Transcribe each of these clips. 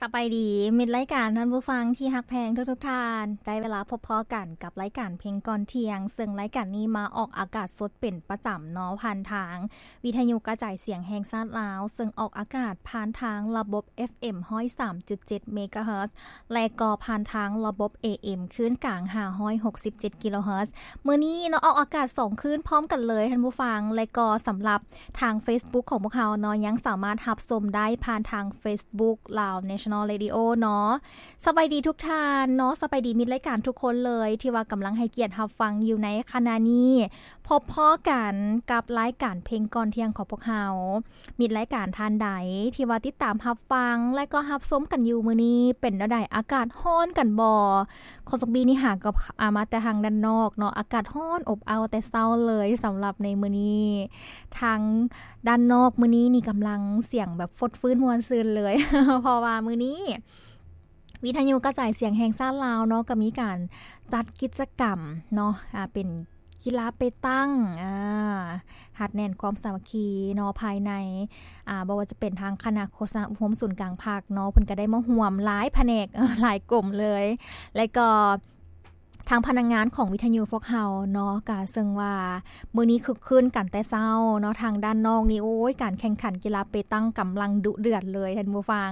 ສະບາຍດີ ມິດລາຍການ ທ່ານຜູ້ຟັງທີ່ຮັກແພງທຸກໆທ່ານ, ໄດ້ເວລາພົບພໍ້ກັນກັບລາຍການເພງກ່ອນທ່ຽງ, ເຊິ່ງລາຍການນີ້ມາອອກອາກາດສົດເປັນປະຈຳເນາະ ຜ່ານທາງວິທະຍຸກະຈາຍສຽງແຫ່ງຊາດລາວ, ເຊິ່ງອອກອາກາດຜ່ານທາງລະບົບ ເອັຟເອັມ ຮ້ອຍສາມຈຸດເຈັດ ເມກາເຮີດ ແລະ ກໍຜ່ານທາງລະບົບ ເອເອັມ ຄື້ນກາງ ຫ້າຮ້ອຍຫົກສິບເຈັດ ກິໂລເຮີດ. ມື້ນີ້ເນາະ ອອກອາກາດສອງຄືນພ້ອມກັນເລີຍທ່ານຜູ້ຟັງ, ແລະ ກໍສຳລັບທາງເຟສບຸກຂອງພວກເຮົາເນາະ ຍັງສາມາດຮັບຊົມໄດ້ຜ່ານທາງເຟສບຸກ Lao National Radio ເນາະ. ສະບາຍດີທຸກທ່ານເນາະ, ສະບາຍດີມິດລາຍການທຸກຄົນເລີຍ ທີ່ວ່າກຳລັງໃຫ້ກຽດຮັບຟັງຢູ່ໃນຂະນະນີ້. ພົບພໍ້ກັນກັບລາຍການເພງກ່ອນທ່ຽງຂອງພວກເຮົາ. ມິດລາຍການທ່ານໃດທີ່ວ່າຕິດຕາມຮັບຟັງ ແລະ ກໍຮັບຊົມກັນຢູ່ມື້ນີ້ ເປັນແນວໃດ? ອາກາດຮ້ອນກັນບໍ່? ຂອງສອກບີນີ້ຫາກໍ ອາ ມາແຕ່ທາງດ້ານນອກເນາະ, ອາກາດຮ້ອນອົບເອົ້າແຕ່ເຊົ້າເລີຍ. ສຳລັບໃນມື້ນີ້ ທາງດ້ານນອກມື້ນີ້ນີ້ກຳລັງສຽງແບບຟົດຟື້ນມ່ວນຊື່ນເລີຍ ເພາະວ່າມື້ນີ້ ວິທະຍຸກະຈາຍສຽງແຫ່ງຊາດລາວເນາະ ກໍມີການຈັດກິດຈະກຳເນາະ ອາ ເປັນກິລາເປຕັງ ອາ ຮັດແໜ້ນຄວາມສາມັກຄີເນາະ ພາຍໃນ ອາ ບໍ່ວ່າຈະເປັນທາງຄະນະໂຄສະນາອົບຮົມສູນກາງພັກເນາະ ເພິ່ນກໍໄດ້ມາຮ່ວມຫຼາຍພະແນກ ເອີ ຫຼາຍກົມເລີຍ ແລະກໍທາງພະນັກງານຂອງວິທະຍຸພວກເຮົາເນາະ ກະເຊິ່ງວ່າ ມື້ນີ້ຄຶກຄື້ນກັນແຕ່ເຊົ້າເນາະ, ທາງດ້ານນອກນີ້ ໂອ້ຍ ການແຂ່ງຂັນກິລາເປຕັງກຳລັງດຸເດືອດເລີຍທ່ານຜູ້ຟັງ.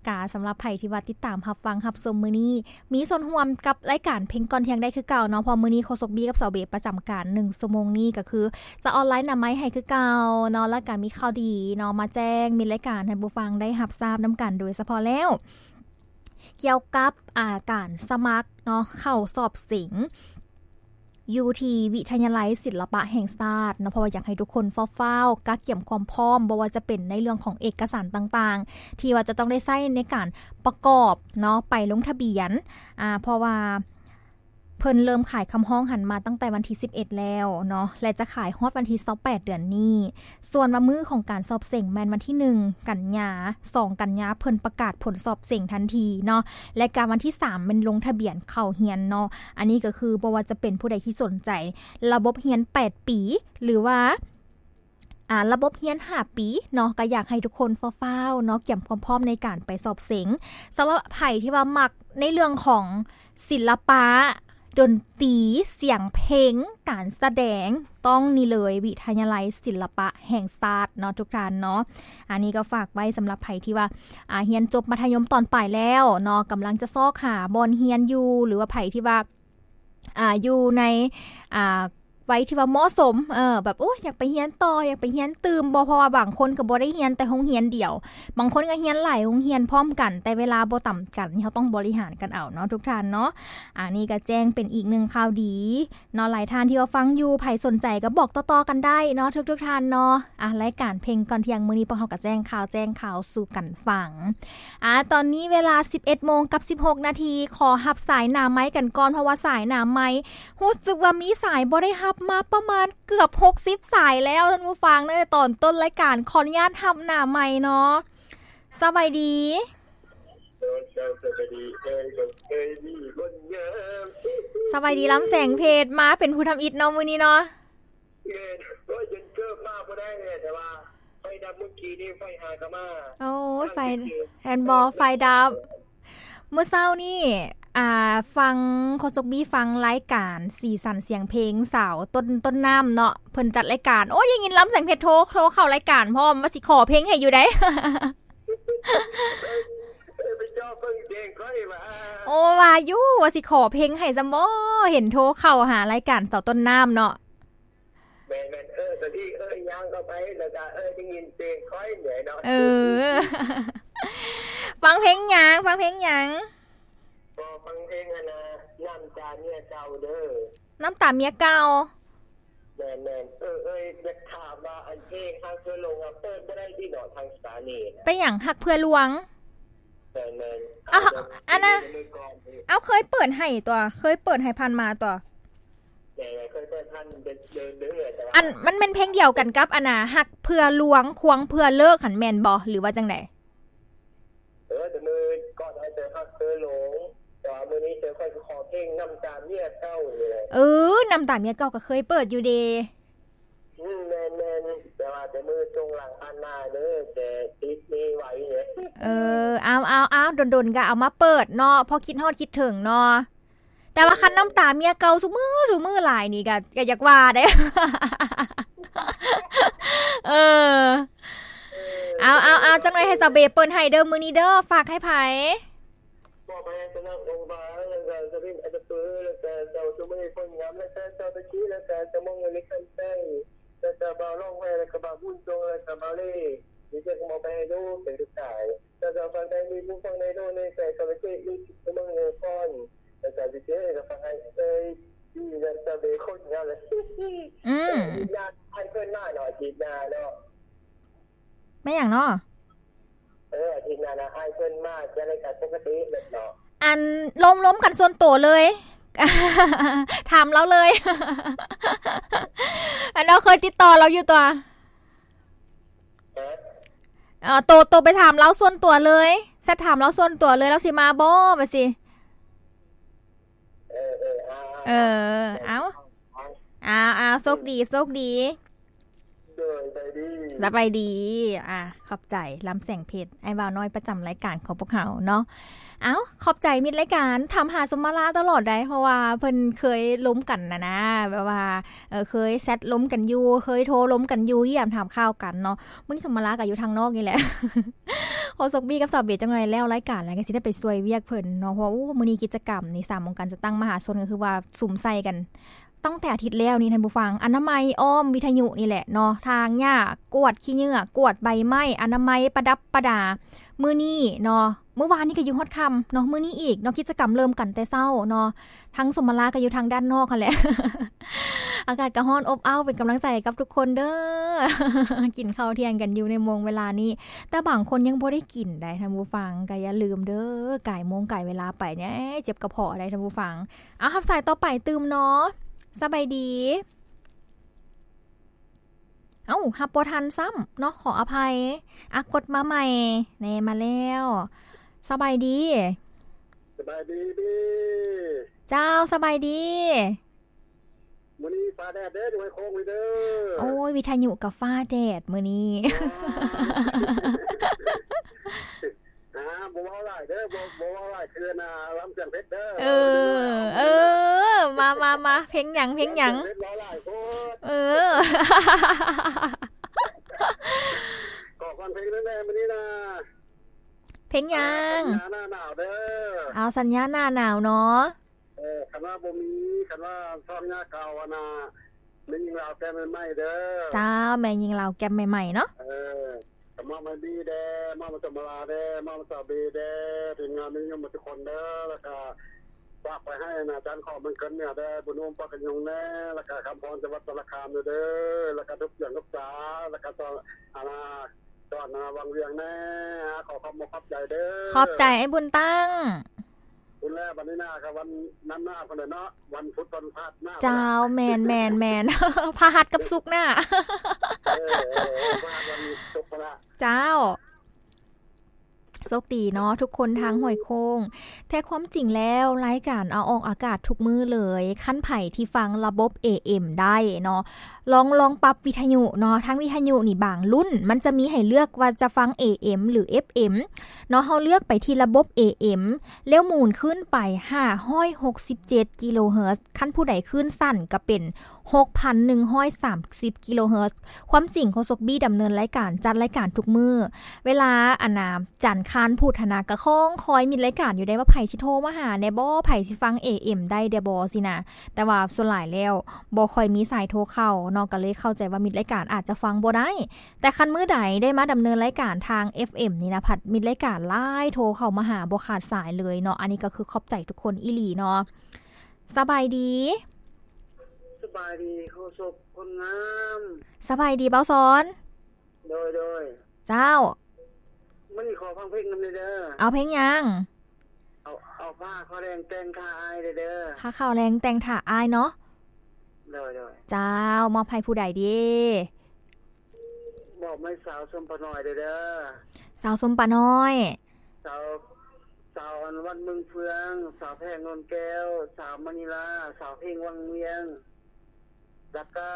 ກະສຳລັບໃຜທີ່ວ່າຕິດຕາມຮັບຟັງຮັບຊົມມື້ນີ້ ມີສ່ວນຮ່ວມກັບລາຍການເພງກ່ອນທ່ຽງໄດ້ຄືເກົ່າເນາະ, ເພາະມື້ນີ້ໂຄສົກບີກັບສາວເບປະຈຳການໜຶ່ງຊົ່ວໂມງນີ້ ກໍຄືຈະອອນລາຍໜ້າໄມໃຫ້ຄືເກົ່າເນາະ, ແລ້ວກະມີຂ່າວດີເນາະ ມາແຈ້ງມິດລາຍການໃຫ້ຜູ້ຟັງໄດ້ຮັບຊາບນຳກັນໂດຍສະເພາະແລ້ວ. ກ່ຽວກັບ ອາ ການສະໝັກເນາະ ເຂົ້າສອບເສັງຢູ່ທີ່ວິທະຍາໄລສິລະປະແຫ່ງຊາດເນາະ, ເພາະວ່າຢາກໃຫ້ທຸກຄົນຟ້າວໆກະກຽມຄວາມພ້ອມ, ບໍ່ວ່າຈະເປັນໃນເລື່ອງຂອງເອກະສານຕ່າງໆ ທີ່ວ່າຈະຕ້ອງໄດ້ໃຊ້ໃນການປະກອບເນາະ ໄປລົງທະບຽນ, ອາ ເພາະວ່າ ເພິ່ນເລີ່ມຂາຍຄຳຮ້ອງຫັ້ນມາຕັ້ງແຕ່ວັນທີສິບເອັດແລ້ວເນາະ ແລະ ຈະຂາຍຮອດວັນທີຊາວແປດເດືອນນີ້. ສ່ວນວ່າມື້ຂອງການສອບເສັງແມ່ນວັນທີໜຶ່ງກັນຍາ, ສອງກັນຍາເພິ່ນປະກາດຜົນສອບເສັງທັນທີເນາະ ແລະ ກະວັນທີສາມແມ່ນລົງທະບຽນເຂົ້າຮຽນເນາະ. ອັນນີ້ກໍຄືບໍ່ວ່າຈະເປັນຜູ້ໃດທີ່ສົນໃຈລະບົບຮຽນແປດປີ ຫຼືວ່າ ອາ ລະບົບຮຽນຫ້າປີເນາະ ກໍຢາກໃຫ້ທຸກຄົນຟ້າວໆເນາະ ກຽມຄວາມພ້ອມໃນການໄປສອບເສັງ. ສຳລັບໃຜທີ່ວ່າມັກໃນເລື່ອງຂອງສິລະປະ, ດົນຕີ, ສຽງເພງ, ການສະແດງ, ຕ້ອງນີ້ເລີຍ ວິທະຍາໄລສິລະປະແຫ່ງຊາດເນາະ ທຸກທ່ານເນາະ. ອັນນີ້ກໍຝາກໄວ້ສຳລັບໃຜທີ່ວ່າ ອາ ຮຽນຈົບມັດທະຍົມຕອນປາຍແລ້ວເນາະ, ກຳລັງຈະຊອກຫາບ່ອນຮຽນຢູ່ ຫຼືວ່າໃຜທີ່ວ່າ ອ່າ ຢູ່ໃນ ອ່າ ໄວທີ່ວ່າເໝາະສົມ ເອີ ແບບ ໂອ້ຍ ຢາກໄປຮຽນຕໍ່ ຢາກໄປຮຽນຕື່ມບໍ່ ເພາະວ່າບາງຄົນກໍບໍ່ໄດ້ຮຽນແຕ່ໂຮງຮຽນດຽວ, ບາງຄົນກໍຮຽນຫຼາຍໂຮງຮຽນພ້ອມກັນ ແຕ່ເວລາບໍ່ຕຳກັນ ເຮົາຕ້ອງບໍລິຫານກັນເອົາເນາະ ທຸກທ່ານເນາະ. ອັນນີ້ກໍແຈ້ງເປັນອີກໜຶ່ງຂ່າວດີເນາະ, ຫຼາຍທ່ານທີ່ວ່າຟັງຢູ່ ໃຜສົນໃຈກໍບອກຕໍ່ໆກັນໄດ້ເນາະ ທຸກໆທ່ານເນາະ. ອ່າ ລາຍການເພງກ່ອນທ່ຽງມື້ນີ້ ພວກເຮົາກໍແຈ້ງຂ່າວ ແຈ້ງຂ່າວສູ່ກັນຟັງ. ອ່າ ຕອນນີ້ເວລາສິບເອັດໂມງກັບສິບຫົກນາທີ, ຂໍຮັບສາຍໜ້າໄມກັນກ່ອນ ເພາະວ່າສາຍໜ້າໄມຮູ້ສຶກວ່າມີສາຍບໍ່ໄດ້ຮັບມາປະມານເກືອບຫົກສິບສາຍແລ້ວ ທ່ານຜູ້ຟັງ, ຕັ້ງແຕ່ຕອນຕົ້ນລາຍການ. ຂໍອະນຸຍາດຮັບໜ້າໄມເນາະ. ສະບາຍດີ. ສະບາຍດີ ລຳແສງເພັດ, ມາເປັນຜູ້ທຳອິດເນາະ ມື້ນີ້ເນາະ. ແມ່ນ ໂອ້ຍ ຈົນເກີບມາບໍ່ໄດ້ແຫຼະ ແຕ່ວ່າໄຟດັບມື້ກີ້ນີ້ ໄຟຫາກໍມາ. ໂອ້ຍ ໄຟ ແມ່ນບໍ່? ໄຟດັບ. ມື້ເຊົ້ານີ້ ອ່າ ຟັງ ໂຄສົກບີຟັງລາຍການສີສັນສຽງເພງ ສາວຕົ້ນ ຕົ້ນນ້ຳເນາະ ເພິ່ນຈັດລາຍການ. ໂອ້ຍ ໄດ້ຍິນລຳແສງເພັດໂທ ໂທເຂົ້າລາຍການພ້ອມ ວ່າຊິຂໍເພງໃຫ້ຢູ່ໃດ. ເອີ ໄປເຈາະເບິ່ງແຈ້ງຂ້ອຍວ່າ ໂອ້ ວ່າຢູ່ ວ່າຊິຂໍເພງໃຫ້ຊຳບໍ່ ເຫັນໂທເຂົ້າຫາລາຍການສາວຕົ້ນນ້ຳເນາະ. ແມ່ນໆ ເອີ ຕອນທີ່ເອີ ຍ່າງເຂົ້າໄປ ແລ້ວກະ ເອີ ໄດ້ຍິນເພງຂ້ອຍແຫຼະເນາະ. ເອີ ຟັງເພງຫຍັງ? ຟັງເພງຫຍັງ? ກໍຟັງເພງອັນນ່າ ນ້ຳຕາເມຍເກົ່າເດີ. ນ້ຳຕາເມຍເກົ່າ. ແມ່ນໆ ເອີ ເອີ ຢາກຖາມວ່າ ອັນເພງຮັກເພື່ອຫຼົງ ເປີດບໍ່ໄດ້ຕິເນາະ ທາງສະຖານີນະ? ເປັນຫຍັງ ຮັກເພື່ອລວງ? ແມ່ນໆ ເອົາ ອັນນ່າ ເອົາ ເຄີຍເປີດໃຫ້ຕົວະ ເຄີຍເປີດໃຫ້ຜ່ານມາຕົວະ. ແມ່ນໆ ເຄີຍເປີດຜ່ານເດີ ເດີ ເດີ ແຕ່ວ່າ ອັນ ມັນແມ່ນເພງດຽວກັນກັບ ອັນນ່າ ຮັກເພື່ອລວງ ຄວງເພື່ອເລີກຫັ້ນແມ່ນບໍ່ ຫຼືວ່າຈັ່ງໃດ? ເອີ ແຕ່ມື້ກ່ອນເຮົາເຈີຮັກເທື່ອຫຼົງ ແຕ່ວ່າມື້ນີ້ເຈີຂ້ອຍຊິຂໍເພງນ້ຳຕາເມຍເກົ່ານີ້ແຫຼະ. ເອີ ນ້ຳຕາເມຍເກົ່າກໍເຄີຍເປີດຢູ່ເດ. ອືມ ແມ່ນໆ ແຕ່ວ່າແຕ່ມື້ຊ່ວງຫຼັງຜ່ານມາເດີ ແຕ່ຕິດເມໄວ້ເດ. ເອີ ເອົາໆໆ ດົນໆກໍເອົາມາເປີດເນາະ ເພາະຄິດຮອດຄິດເຖິງເນາະ. ແຕ່ວ່າຄັນນ້ຳຕາເມຍເກົ່າຊຸມື້ ຊຸມື້ຫຼາຍນີ້ກໍ ກໍຢາກວ່າເດ້. ເອີ ເອົາໆໆ ຈັກໜ່ອຍໃຫ້ສາວເບເປີດໃຫ້ເດີ ມື້ນີ້ເດີ ຝາກໃຫ້ໃຜ? ມອບໃຫ້ສະໜາມໂຮງບານ ແລ້ວກໍສະວິນອັດຕະປື ແລ້ວກໍເຈົ້າສຸມະນີ ໂພນງາມ ແລ້ວກໍເຈົ້າຕະກີ ແລ້ວກໍສະໝອງ ເວລິຄັນໄຊ ແລ້ວກໍບ່າວລອງແວ ແລ້ວກໍບ່າວບຸນຊົງ ແລ້ວກໍບ່າວເລ ນີ້ຈະມອບໄປໃຫ້ດູ ເປັນລູກຊາຍ ແລ້ວກໍຝັ່ງໃດມີຜູ້ຟັງໃນໂລກນີ້ ແຕ່ກໍໄປເຈະຢູ່ທີ່ເມືອງເນປອນ ແລ້ວກໍຊິເຈະ ແລ້ວກໍຟັງໃຫ້ເອີຍ ດີແລ້ວກໍເບຄົນງາມເລີຍ ອືມ ອາທິດໜ້າໃຫ້ເພິ່ນມາເນາະ ອາທິດໜ້າເນາະ. ແມ່ນຫຍັງເນາະ? ເອີ ອາທິດໜ້ານະ ໃຫ້ເພິ່ນມາຈັດລາຍການປົກກະຕິເນາະ. ອັນ ລົມ ລົມກັນສ່ວນໂຕເລີຍ ຖາມລາວເລີຍ ອັນ ເຮົາເຄີຍຕິດຕໍ່ລາວຢູ່ຕົວະ. ຮະ? ເອີ ໂຕ ໂຕໄປຖາມລາວສ່ວນຕົວເລີຍ ແຊັດຖາມລາວສ່ວນຕົວເລີຍ ລາວຊິມາບໍ່ ວ່າຊີ້. ເອີ ເອີ ເອົາ ເອົາ ເອົາ ໂຊກດີ ໂຊກດີ. ໂດຍ ສະບາຍດີ ສະບາຍດີ. ອ່າ ຂອບໃຈ ລຳແສງເພັດ ອ້າຍບ່າວນ້ອຍປະຈຳລາຍການຂອງພວກເຮົາເນາະ. ເອົ້າ ຂອບໃຈມິດລາຍການ ຖາມຫາສົມມາລາຕະຫຼອດໃດ ເພາະວ່າເພິ່ນເຄີຍລົມກັນນະນາ ແບບວ່າ ເອີ ເຄີຍແຊັດລົມກັນຢູ່ ເຄີຍໂທລົມກັນຢູ່ ຢ້ຽມຖາມຂ່າວກັນເນາະ. ມື້ນີ້ສົມມາລາກໍຢູ່ທາງນອກນີ້ແຫຼະ ໂຄສົກບີກັບສາວເບ ຈັກໜ່ອຍແລ້ວລາຍການແລ້ວ ກໍຊິໄດ້ໄປຊ່ວຍວຽກເພິ່ນເນາະ ເພາະວ່າ ໂອ້ ມື້ນີ້ກິດຈະກຳນີ້ ສາມອົງການຈັດຕັ້ງມະຫາຊົນ ກໍຄືວ່າສຸມໃສ່ກັນ ຕັ້ງແຕ່ອາທິດແລ້ວນີ້ທ່ານຜູ້ຟັງ ອະນາໄມອ້ອມວິທະຍຸນີ້ແຫຼະເນາະ ຖາງຫຍ້າ ກວດຂີ້ເຫຍື້ອ ກວດໃບໄມ້ ອະນາໄມປະດັບປະດາ. ມື້ນີ້ເນາະ ມື້ວານນີ້ກໍຢູ່ຮອດຄ່ຳເນາະ ມື້ນີ້ອີກເນາະ ກິດຈະກຳເລີ່ມກັນແຕ່ເຊົ້າເນາະ ທັງສົມມາລາກໍຢູ່ທາງດ້ານນອກຫັ້ນແຫຼະ. ອາກາດກໍຮ້ອນອົບອ້າວ ເປັນກຳລັງໃຈໃຫ້ກັບທຸກຄົນເດີ ກິນເຂົ້າທ່ຽງກັນຢູ່ໃນໂມງເວລານີ້ ແຕ່ບາງຄົນຍັງບໍ່ໄດ້ກິນໃດ໋ທ່ານຜູ້ຟັງ ກໍຢ່າລືມເດີ ກາຍໂມງກາຍເວລາໄປແນ່ ເຈັບກະເພາະໃດ໋ທ່ານຜູ້ຟັງ. ເອົາ ຮັບສາຍຕໍ່ໄປຕື່ມເນາະ ສະບາຍດີ. ເອົ້າ ຮັບບໍ່ທັນຊ້ຳເນາະ ຂໍອະໄພ. ອາ ກົດມາໃໝ່ແນ່ ມາແລ້ວ. ສະບາຍດີ. ສະບາຍດີ. ເຈົ້າ ສະບາຍດີ. ມື້ນີ້ຟ້າແດດເດີ ຢູ່ໄຫໂຄງນີ້ເດີ. ໂອ້ຍ ວິທະຍຸກໍຟ້າແດດມື້ນີ້. ອໍ. ອ່າ ບໍ່ເວົ້າຫຼາຍເດີ ບໍ່ ບໍ່ເວົ້າຫຼາຍຄືນາລຳສຽງເພັດເດີ. ເອີ ເອີ ມາ ມາ ມາ ເພງຫຍັງ ເພງຫຍັງ? ເພງເພັດເວົ້າຫຼາຍໂພດ. ເອີ ຂໍຟັງເພງແດ່ມື້ນີ້ນາ. ເພງຫຍັງ? ສັນຍາໜ້າໜາວເດີ. ເອົາ ສັນຍາໜ້າໜາວເນາະ. ເອີ ຄັນວ່າບໍ່ມີ ຄັນວ່າຊ່ອງຍາເກົ່າຫັ້ນນະ ແມ່ຍິງລາວແກ້ມໃໝ່ໆເດີ. ເຈົ້າ ແມ່ຍິງລາວແກ້ມໃໝ່ໆເນາະ. ເອີ ກໍມອບໃຫ້ບີແດ່ ມອບໃຫ້ສົມມາລາແດ່ ມອບໃຫ້ສາວເບແດ່ ທີມງານແມ່ຍິງໝົດທຸກຄົນເດີ. ແລ້ວກໍຝາກໄປໃຫ້ອາຈານຂອງມັນເກີນເໜືອແດ່ ບຸນອຸ້ມປາກກະຍົງແດ່ ແລ້ວກໍຄຳພອນ ຈັງຫວັດສາລະຄາມເດີ ແລ້ວກໍທຸກສຽງທຸກສາ ແລ້ວກໍສອນ ອັນນາ ສອນວັງວຽງແດ່. ຂໍຂອບອົກຂອບໃຈເດີ. ຂອບໃຈອ້າຍບຸນຕັ້ງ. ພຸ້ນແຫຼະ ບັດນີ້ນາ ກໍວັນນັ້ນນາພຸ້ນແຫຼະເນາະ ວັນພຸດ ວັນພະຫັດນາ. ເຈົ້າ ແມ່ນໆໆ ພະຫັດກັບສຸກນາ. ເອີ ເອີ ເອີ ພະຫັດ ວັນສຸກພຸ້ນລະ. ເຈົ້າ ໂຊກດີເນາະ ທຸກຄົນທາງຫ້ວຍໂຄ້ງ. ແທ້ຄວາມຈິງແລ້ວ ລາຍການເອົາອອກອາກາດທຸກມື້ເລີຍ. ຄັນໃຜທີ່ຟັງລະບົບເອເອັມໄດ້ເນາະ ລອງ ລອງປັບວິທະຍຸເນາະ. ທາງວິທະຍຸນີ້ບາງລຸ້ນ ມັນຈະມີໃຫ້ເລືອກວ່າຈະຟັງເອເອັມ ຫຼື ເອັຟເອັມ ເນາະ. ເຮົາເລືອກໄປທີ່ລະບົບເອເອັມ ແລ້ວໝູນຂຶ້ນໄປຫ້າຮ້ອຍຫົກສິບເຈັດກິໂລເຮີດ. ຄັນຜູ້ໃດຄື້ນສັ້ນກໍເປັນຫົກພັນໜຶ່ງຮ້ອຍສາມສິບກິໂລເຮີດ. ຄວາມຈິງໂຄສົກບີດຳເນີນລາຍການ ຈັດລາຍການທຸກມື້ ເວລາ ອັນນາ ຈັນຄານພຸດຫັ້ນນະ ກໍຄອງຄອຍມິດລາຍການຢູ່ໄດ໋ວ່າ ໃຜຊິໂທມາຫາແດ່ບໍ່ ໃຜຊິຟັງເອເອັມໄດ້ແດ່ບໍ່ຊີ້ນະ. ແຕ່ວ່າສ່ວນຫຼາຍແລ້ວບໍ່ຄ່ອຍມີສາຍໂທເຂົ້າເນາະ ກໍເລີຍເຂົ້າໃຈວ່າມິດລາຍການອາດຈະຟັງບໍ່ໄດ້. ແຕ່ຄັນມື້ໃດໄດ້ມາດຳເນີນລາຍການທາງເອັຟເອັມນີ້ນະ ພັດມິດລາຍການຫຼາຍ ໂທເຂົ້າມາຫາບໍ່ຂາດສາຍເລີຍເນາະ. ອັນນີ້ກໍຄືຂອບໃຈທຸກຄົນອີ່ຫຼີເນາະ. ສະບາຍດີ. ສະບາຍດີ ໂຄສົກຄົນງາມ. ສະບາຍດີ ບ່າວສອນ. ໂດຍ ໂດຍ. ເຈົ້າ. ມື້ນີ້ຂໍຟັງເພງນຳແດ່ເດີ. ເອົາເພງຫຍັງ? ເອົາ ເອົາຜ້າຂາວແດງແຕ່ງຖ້າອ້າຍແດ່ເດີ. ຜ້າຂາວແດງແຕ່ງຖ້າອ້າຍເນາະ. ໂດຍ ໂດຍ. ເຈົ້າ ມອບໃຫ້ຜູ້ໃດດີ? ມອບໃຫ້ສາວສົມປານ້ອຍແດ່ເດີ. ສາວສົມປານ້ອຍ. ສາວ ສາວອັນວັດເມືອງເຟືອງ, ສາວແພງໂນນແກ້ວ, ສາວມະນີລາ, ສາວເພັງວັງວຽງ, ແລ້ວກະ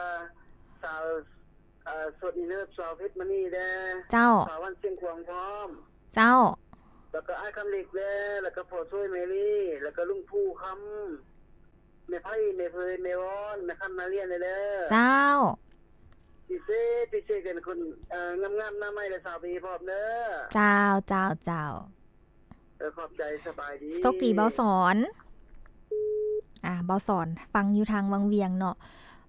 ສາວ ເອີ ສົດອີເລີບ ສາວເພັດມະນີແດ່. ເຈົ້າ. ສາວວັນຊຽງຂວາງພ້ອມ. ເຈົ້າ ແລ້ວກໍອ້າຍຄຳເລັກແດ່ ແລ້ວກໍພໍ່ຊ່ວຍແມລີ ແລ້ວກໍລຸງພູຄຳ ແມ່ໄພ ແມ່ເພີຍ ແມ່ວອນ ແມ່ຄຳນາລຽນແດ່ເດີ. ເຈົ້າ ພິເສດ ພິເສດກັນຄົນ ເອີ ງາມໆ ໜ້າໃໝ່ ແລະ ສາວເບພ້ອມເດີ. ເຈົ້າ ເຈົ້າ ເຈົ້າ. ເອີ ຂອບໃຈ ສະບາຍດີ. ໂຊກດີ ເບົາສອນ. ອາ ເບົາສອນ ຟັງຢູ່ທາງວັງວຽງເນາະ.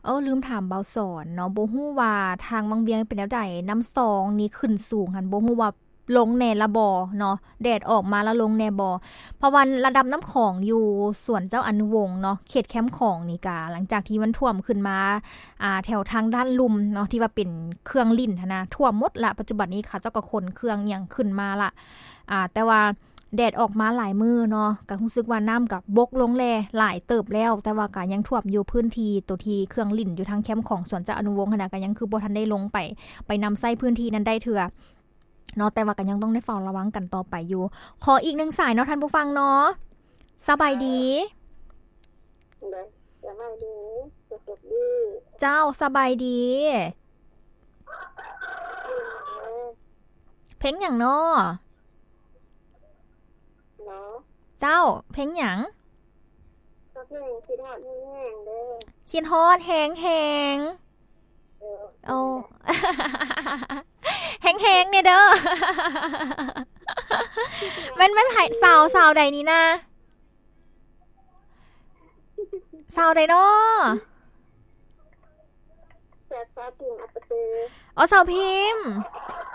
ເອີ ລືມຖາມເບົາສອນເນາະ ບໍ່ຮູ້ວ່າທາງວັງວຽງເປັນແນວໃດ? ນ້ຳຊອງນີ້ຂຶ້ນສູງຫັ້ນ ບໍ່ຮູ້ວ່າລົງແດ່ລະບໍ່ເນາະ? ແດດອອກມາລະລົງແດ່ບໍ່? ເພາະວ່າລະດັບນ້ຳຂອງຢູ່ສວນເຈົ້າອະນຸວົງເນາະ ເຂດແຄມຂອງນີ້ກະ ຫຼັງຈາກທີ່ມັນຖ້ວມຂຶ້ນມາ ອາ ແຖວທາງດ້ານລຸ່ມເນາະ ທີ່ວ່າເປັນເຄື່ອງຫຼິ້ນຫັ້ນນະ ຖ້ວມໝົດລະ. ປັດຈຸບັນນີ້ເຂົາເຈົ້າກໍຂົນເຄື່ອງຫຍັງຂຶ້ນມາລະ ອາ ແຕ່ວ່າ ແດດອອກມາຫຼາຍມື້ເນາະ ກະຮູ້ສຶກວ່ານ້ຳກະບົກລົງແດ່ຫຼາຍເຕີບແລ້ວ ແຕ່ວ່າກະຍັງຖ້ວມຢູ່ພື້ນທີ່ໂຕທີ່ເຄື່ອງຫຼິ້ນຢູ່ທາງແຄມຂອງສວນເຈົ້າອະນຸວົງຫັ້ນນະ ກະຍັງຄືບໍ່ທັນໄດ້ລົງໄປ ໄປນຳໃຊ້ພື້ນທີ່ນັ້ນໄດ້ເທື່ອເນາະ ແຕ່ວ່າກະຍັງຕ້ອງໄດ້ເຝົ້າລະວັງກັນຕໍ່ໄປຢູ່. ຂໍອີກໜຶ່ງສາຍເນາະທ່ານຜູ້ຟັງເນາະ. ສະບາຍດີ. ສະບາຍດີ. ເຈົ້າ ສະບາຍດີ. ເພງຫຍັງເນາະ? ເນາະ ເຈົ້າ ເພງຫຍັງ? ກໍເພງຄິດຮອດແຮງໆເດີ. ຄິດຮອດແຮງໆ. ເອີ ໂອ້ ເປັນຈັ່ງໃດ? ແຮງໆແດ່ເດີ. ແມ່ນ ແມ່ນໃຜ? ສາວ ສາວໃດນີ້ນະ? ສາວໃດເນາະ? ສາວ ສາວພິມ ອັດຕະປື. ອໍ ສາວພິມ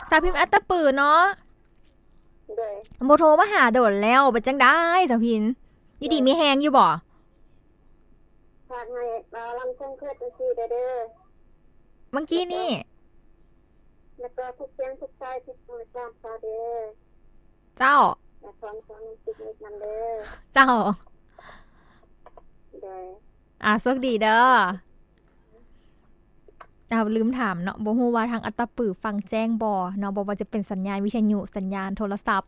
ສາວພິມ ອັດຕະປືເນາະ. ໂດຍ. ບໍ່ໂທມາຫາດົນແລ້ວ ເປັນຈັ່ງໃດສາວພິມ? ຢູ່ດີມີແຮງຢູ່ບໍ່? ຝາກໃຫ້ບ່າວລຳຄົງເຄີດຈັ່ງຊີ້ແດ່ເດີ. ເມື່ອກີ້ນີ້ ແລ້ວກໍທຸກສຽງທຸກສາຍທີ່ສົ່ງມາຕາມຂ່າວເດີ. ເຈົ້າ. ແລະ ຂອງ ຂອງຕິດນິດນຳເດີ. ເຈົ້າ. ໂດຍ. ອາ ໂຊກດີເດີ. ເອົາ ລືມຖາມເນາະ ບໍ່ຮູ້ວ່າທາງອັດຕະປືຟັງແຈ້ງບໍ່ເນາະ ບໍ່ວ່າຈະເປັນສັນຍານວິທະຍຸ ສັນຍານໂທລະສັບ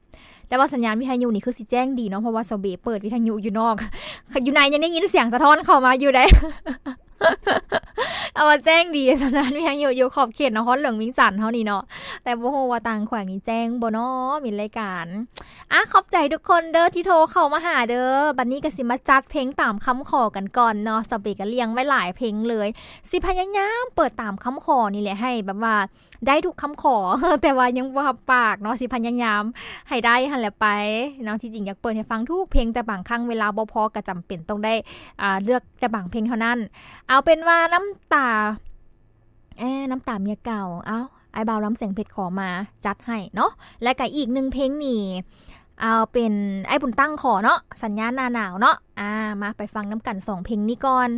ແຕ່ວ່າສັນຍານວິທະຍຸນີ້ຄືຊິແຈ້ງດີເນາະ ເພາະວ່າສາວເບເປີດວິທະຍຸຢູ່ນອກ ຢູ່ໃນຍັງໄດ້ຍິນສຽງສະທ້ອນເຂົ້າມາຢູ່ໃດ. ເອົາວ່າແຈ້ງດີ ສັນຍານວິທະຍຸຢູ່ຂອບເຂດນະຄອນຫຼວງວຽງຈັນເຮົານີ້ເນາະ ແຕ່ບໍ່ຮູ້ວ່າຕ່າງແຂວງນີ້ແຈ້ງບໍ່ເນາະ ມີລາຍການ. ອາ ຂອບໃຈທຸກຄົນເດີທີ່ໂທເຂົ້າມາຫາເດີ. ບັດນີ້ກໍຊິມາຈັດເພງຕາມຄຳຂໍກັນກ່ອນເນາະ. ສາວເບກໍລຽງໄວ້ຫຼາຍເພງເລີຍ. ຊິພະຍາຍາມເປີດຕາມຄຳຂໍນີ້ແຫຼະ ໃຫ້ແບບວ່າໄດ້ທຸກຄຳຂໍ ແຕ່ວ່າຍັງບໍ່ຮັບປາກເນາະ. ຊິພະຍາຍາມໃຫ້ໄດ້ຫັ້ນແຫຼະໄປເນາະ. ທີ່ຈິງຢາກເປີດໃຫ້ຟັງທຸກເພງ ແຕ່ບາງຄັ້ງເວລາບໍ່ພໍ ກໍຈຳເປັນຕ້ອງໄດ້ ອາ ເລືອກແຕ່ບາງເພງເທົ່ານັ້ນ. ເອົາເປັນວ່ານ້ຳຕາ ແອ ນ້ຳຕາເມຍເກົ່າ ເອົ້າ ອ້າຍບ່າວລຳແສງເພັດຂໍມາ ຈັດໃຫ້ເນາະ. ແລະກະອີກໜຶ່ງເພງນີ້ ເອົາເປັນອ້າຍບຸນຕັ້ງຂໍເນາະ ສັນຍາໜ້າໜາວເນາະ. ອາ ມາໄປຟັງນຳກັນສອງເພງນີ້ກ່ອນ.